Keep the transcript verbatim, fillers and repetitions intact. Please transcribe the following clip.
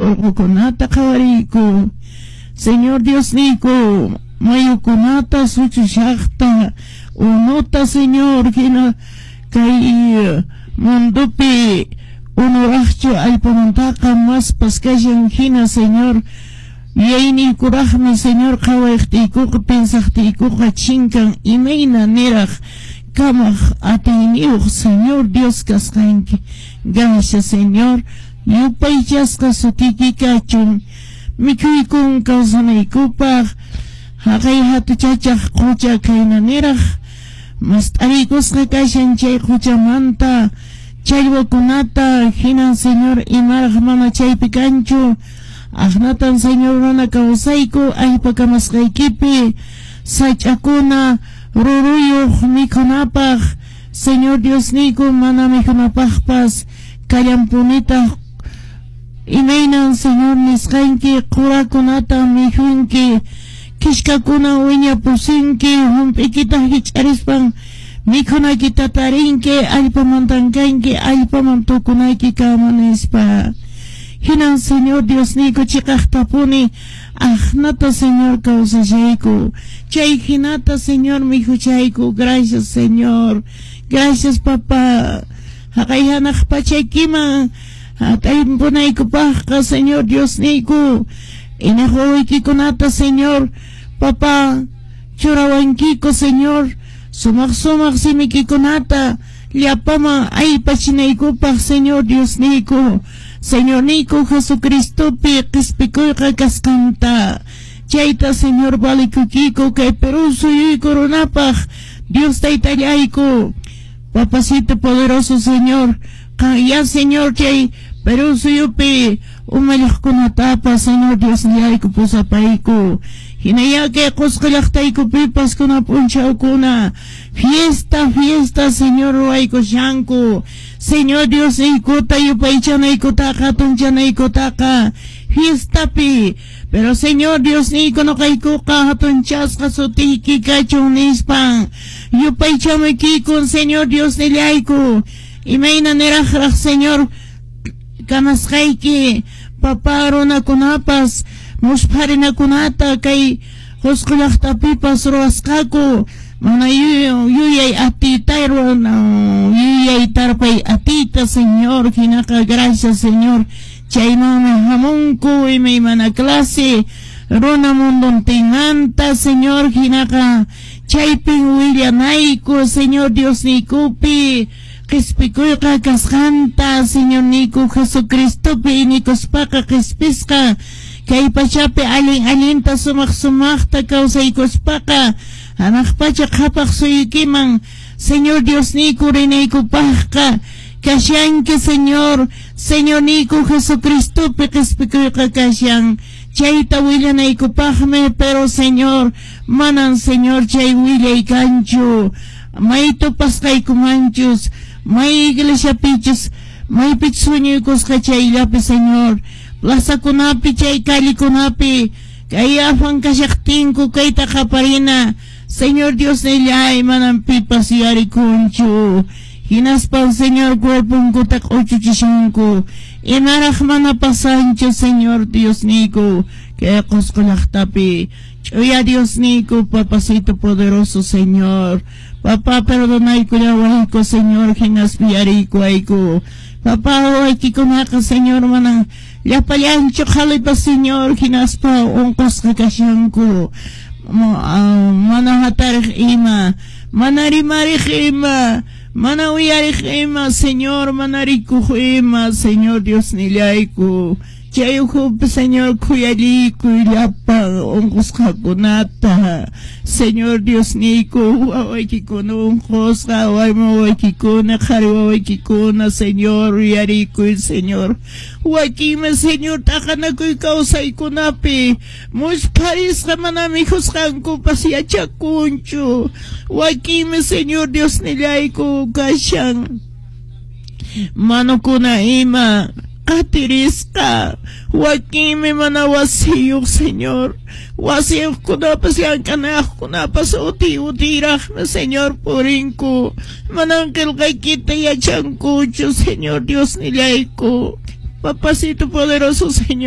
Urqukunata qhawariyku, Señor Diosniyku, mayukunata suchushaqta, unuta, Señor, hina kay mundupi unuraqchu allpamantaqa maspas kashan hina, Señor, yuyayniykuraqmi, Señor, qhawayqtiykuqa, pensaqtiykuqa chinkan imayna niraq kamaq atiyniyuq Señor Dios kasqanki. Gracias, Señor, yupaychasqa sutiyki kachun. Mikhuykun kawsanaykupaq haqay hatuchachaq qucha kayna niraq mast'ariykusqa kashan chay quchamanta challwakunata hinan, Señor, imaraq mana chaypi kanchu. Aqnatan, Señor, runa kawsayku allpa kamasqaykipi sach'akuna ruruyuq mikhunapaq, Señor Diosniyku, mana mikhunapaqpas kallanpunitaq. Imaynan, Señor, nisqanki qurakunata mikhunki, kishkakuna wiñapusinki, hump'ikita hich'arispan mikhunaykita tarinki, allpamantan kanki, allpaman tukunayki kama nispa. Hinan, Señor Diosniyku, chiqaqtapuni aqnata, Señor, kawsashayku, chay hinata, Señor, mikhuchayku. Gracias, Señor, gracias, papá. Haqay hanaq pachaykiman hataypunaykupaqqa, Señor Diosniyku, inaq wawaykikunata, Señor, papá, churawankiku, Señor, sumaq sumaq simikikunata llapaman aypachinaykupaq, Señor Diosniyku, Señorniyku Jesucristopi qispikuyqa kasqanta. Chayta, Señor, valikukiku kay Perú suyuyku runapaq. Dios taytallayku, papacito poderoso, Señor, ya, Señor, chay Perú suyupi umalliqkunatapas, Señor Diosnillayku, pusapayku. Hinaya kay Qusqu llaqtaykupipas kuna p'unchawkuna fiesta, fiesta, Señor, ruwaykushanku, Señor Diosniykuta yupaychanaykutaqa, hatunchanaykutaqa fiestapi. Pero, Señor Diosniyku, nuqaykuqa hatunchasqa sutiyki kachun nispan yupaychamuykikun, Señor Diosnillayku. Imayna niraqraq, Señor, kamasqayki, papá, runakunapas muspharinakunata kay Qusqu llaqtapipas ruwasqaku, mana yuyay atiyta, yuyay tarpay atiyta, Señor. Hinaqa gracias, Señor, chaymanmi hamunku imaymana clase runa munduntinmanta, Señor. Hinaqa chaypin willanayku Señor Diosniykupi qispikuyqa kasqanta, Señorniyku Jesucristopi inikuspaqa qispisqa kay pachapi allin allinta sumaq sumaqta kawsaykuspaqa hanaq pacha qhapaq suyukiman, Señor Diosniyku, rinaykupaqqa kashanki, Señor. Señorniyku Jesucristopi qispikuyqa kashan, chayta willanaykupaqmi. Pero, Señor, manan, Señor, chay willay kanchu may tupasqaykumanchus, may iglesiapichus, maypichus huñuykusqa chayllapi, Señor, plazakunapi, chay callekunapi kay afan kashaqtinku kayta qaparina, Señor Diosnillay, manan pipas yarikunchu. Hinaspan, Señor, cuerponkuta q'uchuchishanku. Imaraq mana pasanchu, Señor Diosniyku, kay Qusqu llaqtapi. Ch'uya Diosniyku, papacito poderoso, Señor, papá, perdonaykullawayku, Señor, hinaspa yariykuwayku. Papá, wawaykikunaqa, Señor, manan llapallanchu qhalipa, Señor, hinaspa unqusqa kashanku, mana hatariq ima, mana rimariq ima, mana uyariq ima, Señor, mana rikuq ima. Señor Diosnillayku, chay ukhupi, Señor, khuyallikuy llapan unqusqakunata. Señor Diosniyku, wawaykikuna unqusqa, warmi wawaykikuna, qhari wawaykikuna, Señor, uyarikuy, Señor. Wakinmi, Señor, t'aqanakuy kawsaykunapi muspharisqa, mana mikhusqankupas yachakunchu. Wakinmi, Señor Diosnillayku, kashan manukuna ima qatirisqa. Wakinmi mana wasiyuq, Señor. Wasiyuqkunapas llank'anayuqkunapas uti utiraqmi, Señor, purinku, manan qillqaykita yachankuchu. Señor Diosnillayku, papacito poderoso, Señor.